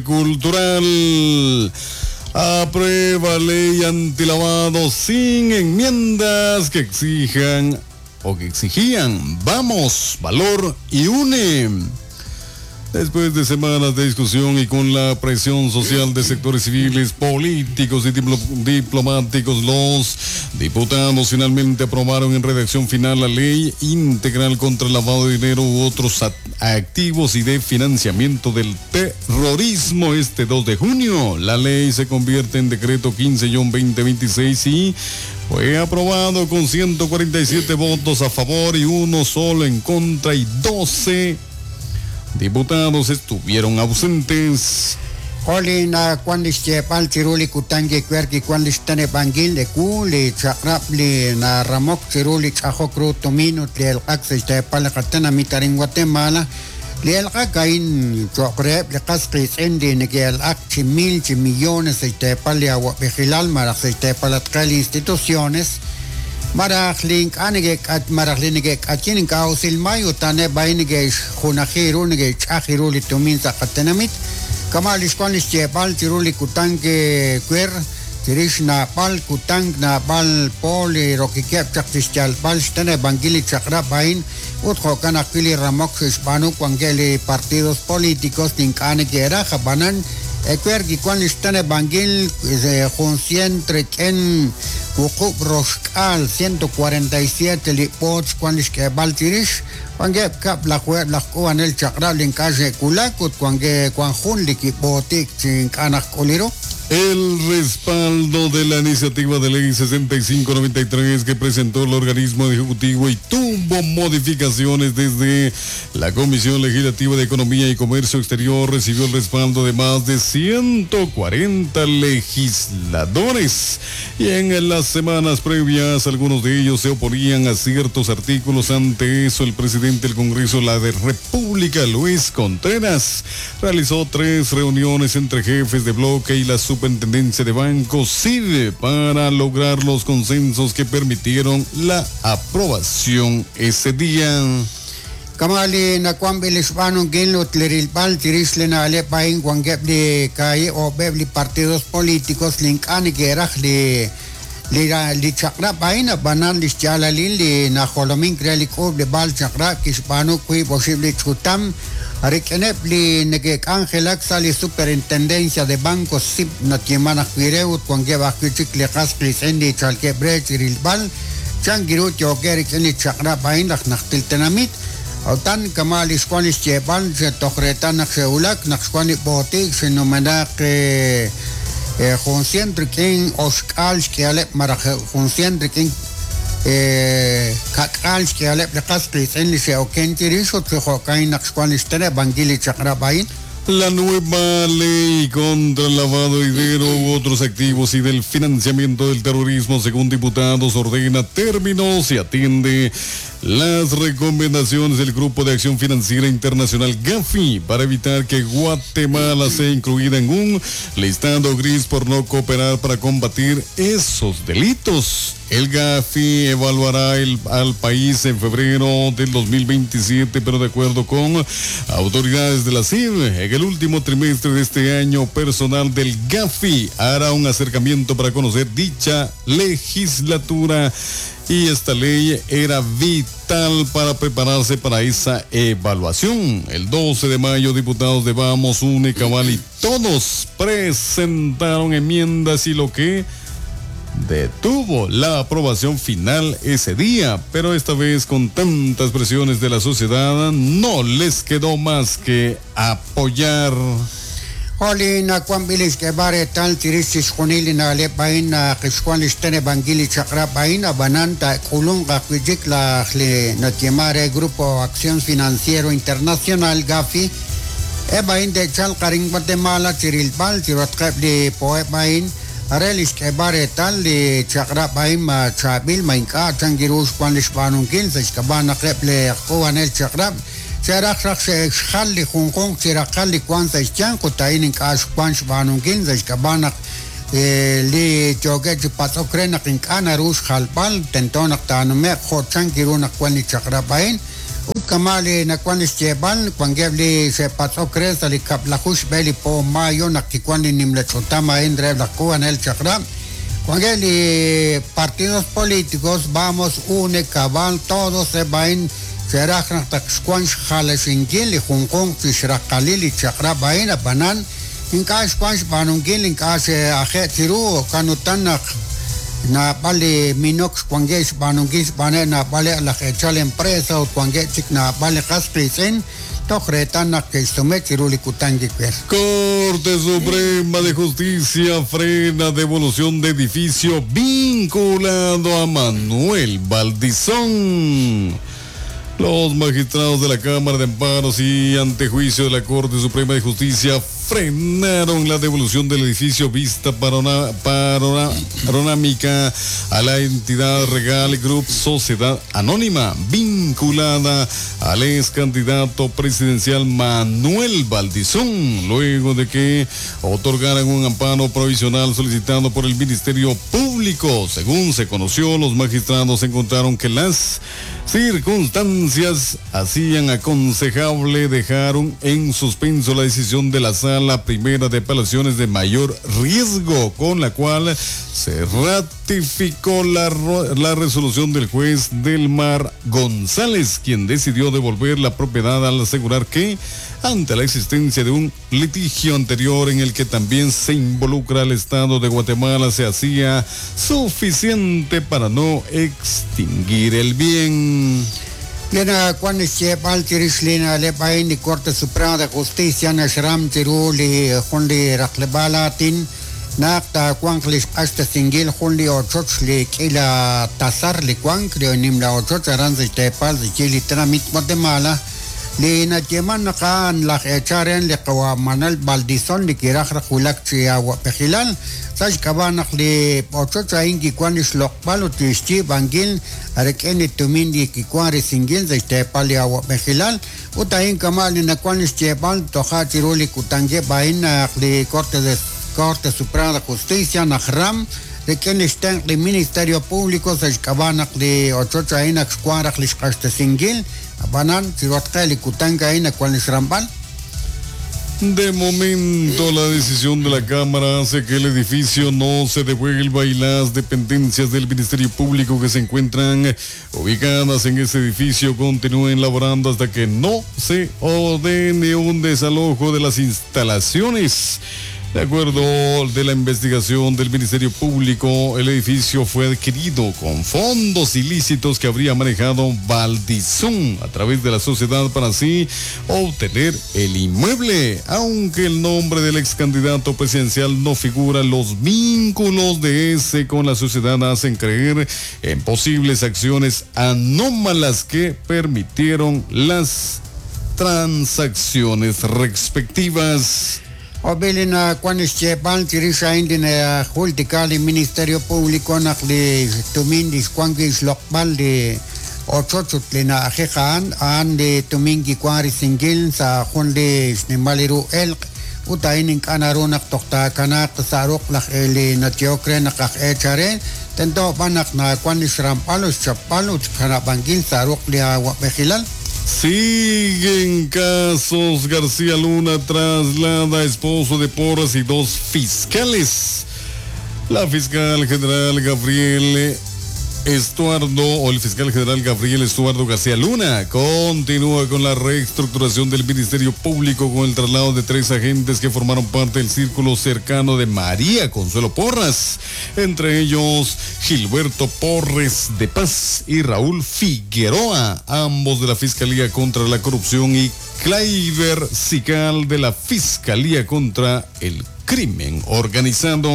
Cultural. Aprueba ley antilavado sin enmiendas que exijan o que exigían. Vamos, valor y une. Después de semanas de discusión y con la presión social de sectores civiles, políticos y diplomáticos, los diputados finalmente aprobaron en redacción final la ley integral contra el lavado de dinero u otros activos y de financiamiento del terrorismo este 2 de junio. La ley se convierte en decreto 15-2026 y fue aprobado con 147 votos a favor y uno solo en contra y 12 diputados estuvieron ausentes. Jo' li nawank li xyeeb'al chiru li kutan kiwer kiwank li xteneb'ankil ewu li chaq'rab' li naramok chiru li ch'ajok ru tumin ut li elq'ak sa' xteepal li qatenamit arin Guatemala. Li elq'ak a'in cho'q reheb' li qas qiitz'in li neke'elq'ak chi mil chi millones sa' xteepal li awa'b'ejilal malaj sa' xteepalatqeb' li instituciones malaj li ink'a' neke'k'at malaj li neke'k'ayin ink'a' usil may ut a'aneb' a'in neke'xjunaji ru neke'xch'aj ru li tumin sa' qatenamit. Kama' li xwank li xyeeb'al chiru li kutan kiwer chirix naab'al kutan naab'al po li rokikeb' chaq chi xyalb'al xteneb'ankil li chaq'rab' a'in ut jo'kan ajwi' li ramok xe'xb'aanu wankeb' li partidos políticos li ink'a' neke'raj ab'anan ewer kiwank li xteneb'ankil jun sient rik'in wuqub' roxk'aal 147 li b'oot xwank li xk'eeb'al chirix wankeb' kab'lajuheb' laj k'uub'anel chaq'rab' li ink'a' xe'wulak ut wankeb' wank jun li kib'ootik chi ink'a' najk'uli ru. El respaldo de la iniciativa de ley 6593 que presentó el organismo ejecutivo y tuvo modificaciones desde la Comisión Legislativa de Economía y Comercio Exterior recibió el respaldo de más de 140 legisladores. Y en las semanas previas, algunos de ellos se oponían a ciertos artículos. Ante eso, el presidente del Congreso, la de República, Luis Contreras, realizó tres reuniones entre jefes de bloque y la Superintendencia de Bancos SID para lograr los consensos que permitieron la aprobación ese día. Kama' li nawanb'il li xb'aanunkil ut li rilb'al chirix li na'leb' a'in wankeb' li kaahib' oob'eb' li partidos políticos li ink'a' neke'raj li li li chaq'rab' a'in ab'anan li xyaalalil li najolomink re li k'uub'leb'aal chaq'rab' kixb'aanu wiib' oxib' li ch'utam rik'ineb' li neke'k'anjelak sa' li Superintendencia de Bancos SIB nayeeman ajwi' re ut wankeb' ajwi' chik li qas qiitz'in li chalkeb' re chi rilb'al chan ru yookeb' rik'in li chaq'rab' a'in laj najtil tenamit. Utan kama' li xwank li xyeeb'al toj reetal naq xe'wulak naq xwank li b'ootik xinumenaq jun sient rik'in oxk'aal xk'ihaleb' malaj jun sient rik'in ka'k'aal xk'ihaleb' li qas qiitz'in li xe'oken chirix ut chi jo'kan naq xwank li xteneb'ankil li chaq'rab' a'in. La nueva ley contra el lavado de dinero u otros activos y del financiamiento del terrorismo, según diputados, ordena términos y atiende las recomendaciones del Grupo de Acción Financiera Internacional GAFI para evitar que Guatemala sea incluida en un listado gris por no cooperar para combatir esos delitos. El GAFI evaluará al país en febrero del 2027, pero de acuerdo con autoridades de la CID, en el último trimestre de este año, personal del GAFI hará un acercamiento para conocer dicha legislatura y esta ley era vital para prepararse para esa evaluación. El 12 de mayo, diputados de Vamos, UNE, Cabal y todos presentaron enmiendas y lo que detuvo la aprobación final ese día, pero esta vez con tantas presiones de la sociedad no les quedó más que apoyar. Jo' li nawanb'il li xk'eeb'al reetal chirix chixjunil li na'leb' a'in naq xwank li xteneb'ankil li chaq'rab' a'in ab'anan taak'ulunq ajwi' chik laj li nayeeman re Grupo Acción Financiero Internacional GAFI eb' a'in te'chalq arin Guatemala chi rilb'al chiruhatqeb' li poheb' a'in re li xk'eeb'al reetal li chaq'rab' a'in ma chaab'il ma ink'a' chan ru xwank li xb'aanunkil sa' xk'ab'a' naq eb' li aj k'uub'anel chaq'rab' xe'raj raj xe'xjal li junjunq chi raqal li wank sa' xyanq ut a'in ink'a' xwank xb'aanunkil sa' xk'ab'a' naq li yookeb' chi patz'ok re naq ink'a' naru xjalb'al tento naq taanume'q jo' chan ru naq wank li chaq'rab' a'in. Kama' li nawank li xyeeb'al, wankeb' li xe'patz'ok re sa' li kab'laju xb'e li po mayo naq kiwank li nimla ch'utam a'in reheb' laj k'uub'anel chaq'rab'. Wankeb' li partidos políticos, Vamos, une, Cabal, Todos, eb' a'in xe'raj naq taq xwank xjalaxinkil li junjunq chi xraqalil li chaq'rab' a'in, ab'anan ink'a' xwank xb'aanunkil, ink'a' xe'aje' chiru, jo'kan utan naq naab'al li minok xwankeb' xb'aanunkil xb'aaneb' naab'aleb' laj eechal empresa ut wankeb' chik naab'al li qas qiitz'in toj reetal naq ke'xsume chiru li kutan kiwer. Corte Suprema de Justicia frena devolución de edificio vinculado a Manuel Baldizón. Los magistrados de la Cámara de Amparos y antejuicio de la Corte Suprema de Justicia frenaron la devolución del edificio Vista Panorámica a la entidad Regal Group Sociedad Anónima, vinculada al ex candidato presidencial Manuel Baldizón, luego de que otorgaran un amparo provisional solicitado por el Ministerio Público. Según se conoció, los magistrados encontraron que las circunstancias hacían aconsejable dejar en suspenso la decisión de la Sala Primera de Apelaciones de mayor riesgo, con la cual se ratificó la resolución del juez Delmar González, quien decidió devolver la propiedad al asegurar que, ante la existencia de un litigio anterior en el que también se involucra al Estado de Guatemala, se hacía suficiente para no extinguir el bien. Li nawank li xyeeb'al chirix li na'leb' a'in li Corte Suprema de Justicia naxram chiru li jun li raqleb'aal aatin naq taawanq li xq'axtesinkil jun li ochoch li k'iila tasar li wank li nimla ochoch aran sa' xteepal sa' xyi li tenamit Guatemala li nayeeman naq a'an laj eechal re li qawa' Manuel Baldizón li kiraj raj wulak chi awa'b'ejilal sa' xk'ab'a' naq li ochoch a'in kiwank li xloq'b'al ut li xyiib'ankil rik'in li tumin li kiwank risinkil sa' xteepal li awa'b'ejilal ut a'in kama' li nawank li xyeeb'al toja' chiru li kutankeb' a'in naq li Corte de Corte Suprema de Justicia najram rik'in li xtenq' li Ministerio Público sa' xk'ab'a' naq li ochoch a'in ak xwank raj li xq'axtesinkil ab'anan chiruhatqe li kutank a'in nawank li xramb'al. De momento, la decisión de la Cámara hace que el edificio no se devuelva y las dependencias del Ministerio Público que se encuentran ubicadas en ese edificio continúen laborando hasta que no se ordene un desalojo de las instalaciones. De acuerdo de la investigación del Ministerio Público, el edificio fue adquirido con fondos ilícitos que habría manejado Baldizón a través de la sociedad para así obtener el inmueble. Aunque el nombre del ex candidato presidencial no figura, los vínculos de ese con la sociedad hacen creer en posibles acciones anómalas que permitieron las transacciones respectivas. Ob'il li nawank li xyeeb'al chirix a'in li najultika li Ministerio Público naq li tumin li xwank wi' xloq'b'al li ochoch ut li na'ajej a'an, a'an li tumin kiwank risinkil sa' jun li xnimal ru elq' ut a'in ink'a' naru naq toj taakanaaq sa' ruq' laj li nayehok re naq aj eechal re, tento b'an naq nawank li xramb'al ut xchapb'al ut xkanab'ankil sa' ruq' li awa'b'ejilal. Siguen casos. García Luna traslada a esposo de Porras y dos fiscales. La fiscal general Gabriel Estuardo, o el fiscal general Gabriel Estuardo García Luna, continúa con la reestructuración del Ministerio Público con el traslado de 3 agentes que formaron parte del círculo cercano de María Consuelo Porras, entre ellos Gilberto Porres de Paz y Raúl Figueroa, ambos de la Fiscalía contra la Corrupción, y Claiber Sical de la Fiscalía contra el Crimen Organizado.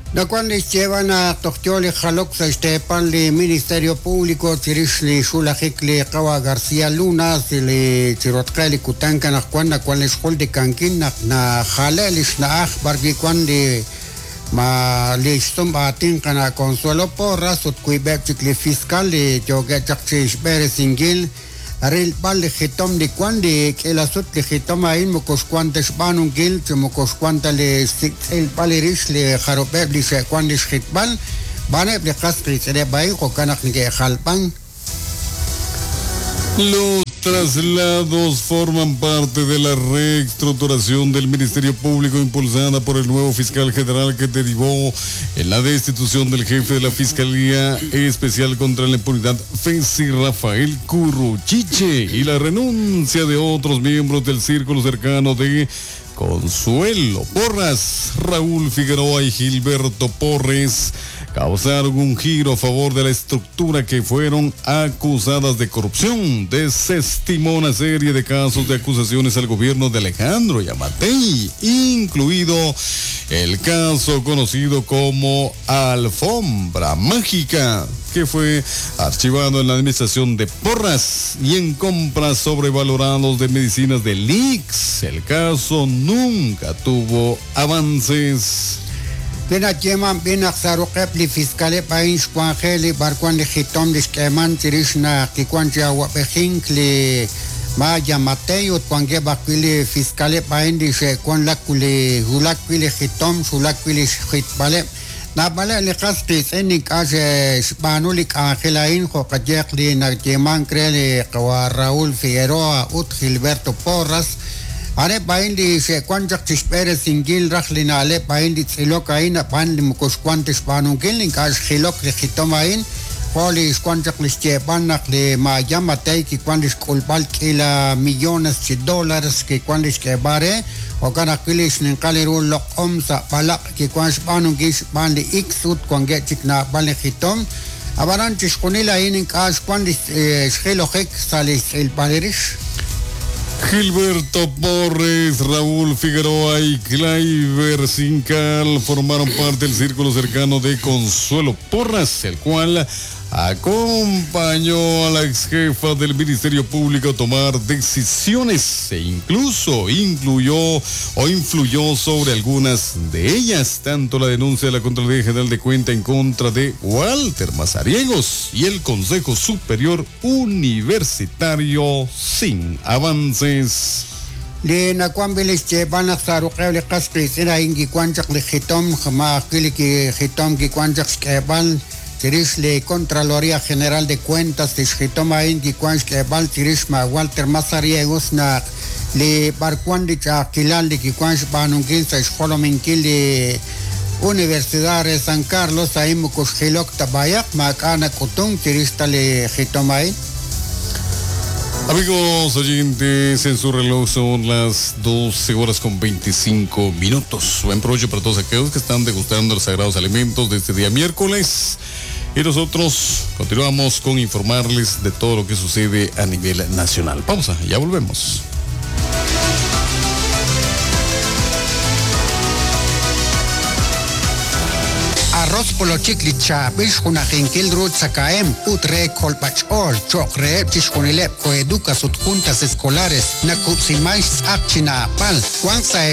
Nawank li xyeeb'al naq toj yo li jalok sa' xteepal li Ministerio Público chirix li xulajik li qawa' García Luna li chirotqe li kutan anaqwan nawank li xjultikankil naq najale' li xna'aj b'ar wi' wank li ma li xsum aatin qana' Consuelo Porras ut wiib'eb' chik li fiscal li yookeb' chaq chi xb'eresinkil rilb'al li jitom li wank li k'iila sut li jitom a'in moko xwank ta xb'aanunkil chi moko xwank ta li xsik'tz'ilb'al li rix li jarub'eb' li xe'wank li xjitb'al b'aneb' li qas qiitz'ineb' a'in jo'kan naq neke'jalb'an. Los Traslados forman parte de la reestructuración del Ministerio Público impulsada por el nuevo fiscal general que derivó en la destitución del jefe de la Fiscalía Especial contra la Impunidad, Fesi Rafael Curruchiche, y la renuncia de otros miembros del círculo cercano de Consuelo Porras, Raúl Figueroa y Gilberto Porres causaron un giro a favor de la estructura que fueron acusadas de corrupción. Desestimó una serie de casos de acusaciones al gobierno de Alejandro Yamatei, incluido el caso conocido como Alfombra Mágica, que fue archivado en la administración de Porras y en compras sobrevalorados de medicinas de Lix. El caso nunca tuvo avances. Bina yeman bina saruqeb li fiscaleb a'in xwanjel li b'arwan li jitom li xk'eeman chirix naq kiwan chi awab'ejink li ma' Yamatei ut wankeb' ajwi' li fiscaleb' a'in li xe'wan lak li wulak wi' li jitom xwulak wi' li xjitb'aleb' naab'aleb' li qas qiitz'in ink'a' xe'xb'aanu li k'anjel a'in jo' qayeeq li nayeemank re li qawa' Raúl Figueroa ut Gilberto Porras a'aneb' a'in li xe'wan chaq chixb'eresinkil raj li na'leb' a'in li tz'ilok a'in ab'an li moko xwan ta xb'aanunkil ink'a' xjilok li jitom a'in jo' li xwan chaq li xyeeb'al naq li ma' Yamatei kiwan li xk'ulb'al k'iila millones chi dólares kiwan li xk'eeb'al re jo'kan ajwi' li xninqal ru loq'om sa' b'alaq' kiwan xb'aanunkil xb'aan li X ut wankeb' chik naab'al li jitom ab'anan chixjunil a'in ink'a' xwan li xjilojik sa' li xtz'ilb'al rix. Gilberto Porres, Raúl Figueroa y Cliver Sincal formaron parte del círculo cercano de Consuelo Porras, el cual acompañó a la ex jefa del Ministerio Público a tomar decisiones e incluso incluyó o influyó sobre algunas de ellas, tanto la denuncia de la Contraloría General de Cuenta en contra de Walter Mazariegos y el Consejo Superior Universitario sin avances. Li nawanb'il li xyeeb'al naq sa' ruq'eb' li qas qiitz'in a'in kiwan chaq li jitom ma' ajwi' li kijitom kiwan chaq xk'eeb'al chirix li Contraloría General de Cuentas li xjitom a'in kiwan xk'eeb'al chirix ma' Walter Mazariegos naq li b'arwan li ch'a'ajkilal li kiwan xb'aanunkil sa' xjolominkil li Universidad re San Carlos a'in moko xjilok ta b'ayaq maak'a' nak'utunk chirix ta li jitom a'in. Amigos oyentes, en su reloj son las 12 horas con 25 minutos. Buen provecho para todos aquellos que están degustando los sagrados alimentos de este día miércoles. Y nosotros continuamos con informarles de todo lo que sucede a nivel nacional. Pausa, ya volvemos. Arroz polochik li chaab'il xjunajinkil ru tzakahem ut re kolb'ach'ool cho'q reheb' chixjunileb' coeducas ut juntas escolares nakub'siman xtz'aq chi naab'al wank sa'